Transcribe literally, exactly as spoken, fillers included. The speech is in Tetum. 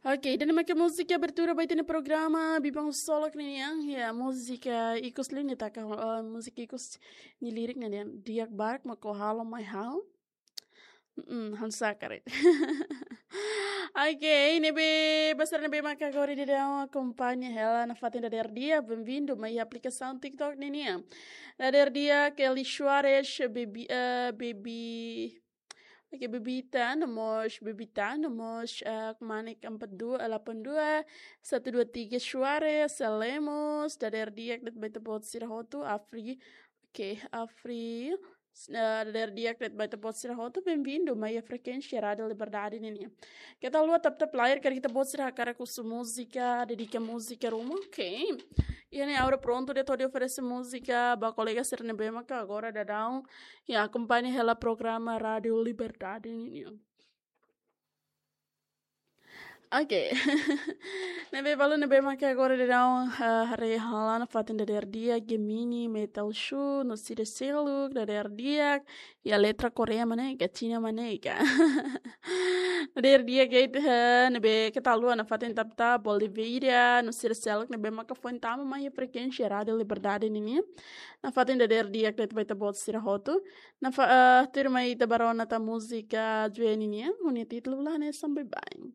Ok, ida-ne'e maka múzika abertura ba ita-nia programa Biban Solok nian. Ya, múzika ikus liu ne'e taka, eh, múzika ikus nia lirik ne'e di'ak barak mak ó halo mai ha'u. Mm, ha'u sakarit. Ok, ne'ebé, ba sira ne'ebé maka agora daudaun akompaña hela nafatin dadeer di'ak, benvindu mai aplikasaun TikTok nian. Dadeer di'ak, Kelly Suarez, Baby, eh, Baby, ok, Bebita, no mós Bebita, no mós, eh, Manik empat dua, delapan dua, satu dua tiga Suarez, Lemos, dadeer di'ak de'it ba ita-boot sira hotu, Afri, ok, Afri, eh, dadeer di'ak de'it ba ita-boot sira hotu, benvindu mai frekuénsia Rádiu Liberdade nian. Keta haluha tap-tap layar karik ita-boot sira hakarak husu múzika, dedika múzika ruma, ok. Iha ne'e agora prontu de'it hodi oferese múzika ba kolega sira ne'ebé maka agora daudaun akompaña hela programa Rádiu Liberdade nian. Ok. Ne'ebé, balu ne'ebé maka agora daudaun, eh, haree hela nafatin dadeer di'ak, Gemini, Metal Shoe, no sira seluk, dadeer di'ak, iha letra Koreia mak ne'e ka, Xina mak ne'e ka. Dadeer di'ak, eh, ne'ebé keta haluha nafatin tap-tap, Bolivia, no sira seluk ne'ebé maka foin tama mai frekuénsia Rádiu Liberdade nian. Nafatin dadeer di'ak de'it ba ita-boot sira hotu. Nafa, eh, tuirmai ita bá rona tan múzika Joe nian, ho nia títulu la hanesan baibain.